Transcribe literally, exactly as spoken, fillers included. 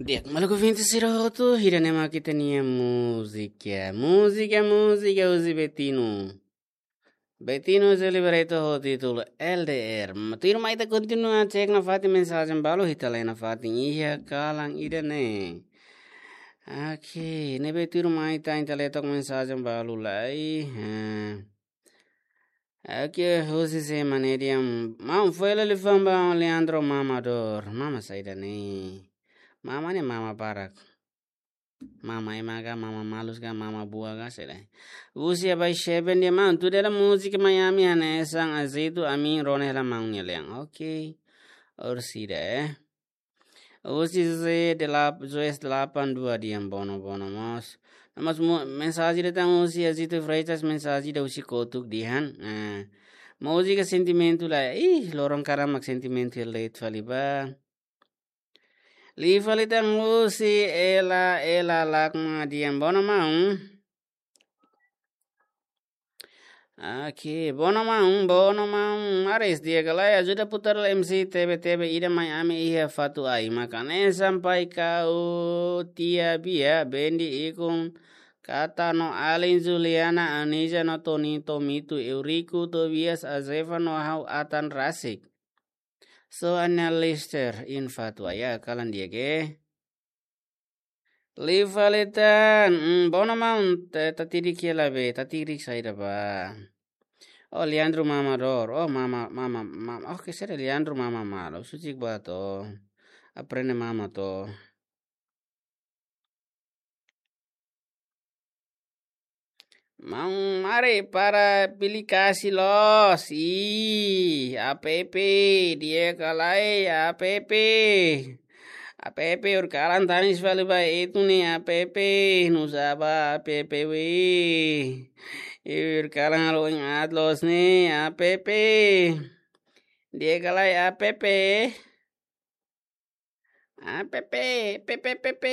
Di'ak, maluk ouvinte sira hotu, ida-ne'e mak ita-nia múzika. Múzika, múzika husi Betinho. Betinho José Liberato ho títulu L D R. Tuirmai ita kontinua cek nafatin mensajen balu, ita lee nafatin iha kalan ida-ne'e. Oke, ne'ebé tuirmai ita, ita lee took mensajen balu lai. Eh. Oke, husi sé mak ne'e dehan, maun, fó hela liafuan ba Leandro Mamador. Mama saida ne'e? Mama ne'e mama barak. Mama ema ka, mama malus ka, mama buat ka, saida. Husi Abai Sheben dehan, maun, tuda hela múzika Miami hanesan azeite, ami rona hela maun nia lean. Oke. Orsida, eh. Husi José de la, José delapan dua dehan bono, bono mós. No mós mu-, mensajen ida tan husi Azito Freitas, mensajen ida husi kotuk dehan. Eh, múzika sentimentu lai. Ih, loron kalan mak sentimentu hela de'it fali ba. Liu fali tan husi Ela, Ela Lakma dehan bono maun. Oke, bono maun, bono maun. Ares, di'ak ka lae, ajuda putar M C T V T V ida mai ami iha Fatuai. Mak hanesan pai kau tia Bia, Bendi, Ikun, Kata no alin, Juliana, Anija no Toni, Tomito, Eurico, Tobias, Azefa no ha'u atan rasik. So, Ana Lester in Fatuai, kalan di'ak ka. Liu fali tan, mm, bono maun, ta-, tatirik hela be, tatirik saida ba. Oh, Leandro Mamador. Oh, mama, mama, mama. Oh, ke sera Leandro Mama Malo. Sucik ba to. Aprende mama to. Maun, mari para aplikasi loos. Ih, app, di'ak ka lae, app. App, horikalan tanis fali ba ita-nia app. Nusá ba app, weh. Horikalan halo oin aat loos ne'e, app. Di'ak ka lae, app. App, app, app.